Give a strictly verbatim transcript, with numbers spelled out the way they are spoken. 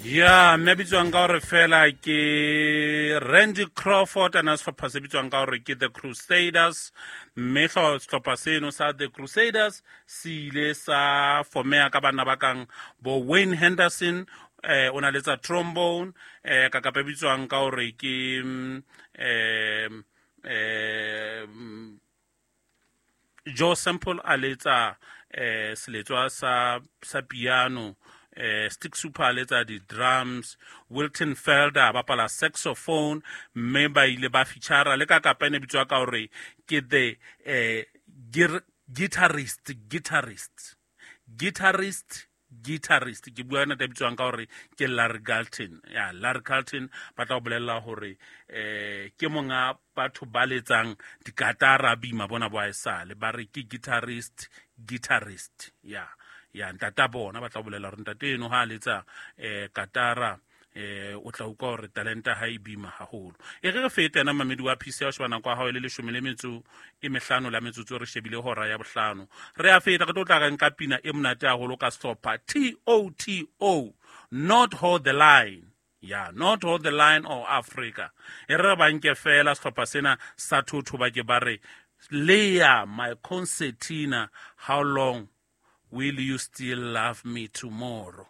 Ya mme a bitswang ka hore fela ke Randy Crawford, a na sehlopha se bitswang ka hore ke The Crusaders. Mme sehlopha seno sa The Crusaders se ile sa fomeha ka banna ba kang bo Wayne Henderson, eh o na letsa trombone, eh ka kapa bitswang ka hore ke eh eh Joe Sample a letsa eh seletswa sa sa piano, eh Stick Super a letsa di-drums, Wilton Felder a bapala saxophone, mme ba ile ba feature le ka kapa e ne bitswa ka hore ke the eh guitarist guitarist guitarist guitarist ke bua ntate bitswang ka hore ke Larry Carlton. Ya Larry Carlton ba tla o bolella hore eh ke monga batho ba letsang dikatara bima bona bo aesale ba re ke guitarist guitarist ya ya ntata bona ba tla bolela hore ntate eno ha letsa eh katara eh o tla utlwa hore talenta ha e bima haholo. E re re fete ena mamedi wa P C o sheba nako ya hao e le leshome le metso e mehlano la metsotso, re shebile hora ya bohlano. Re a feta re tlo tla re nka pina e monate haholo ka sehlopha T O T O, Not Hold the Line. Ya Not Hold the Line or Africa. E re ba nke fela sehlopha sena sa thotho ba ke ba re Leah my concertina, how long will you still love me tomorrow?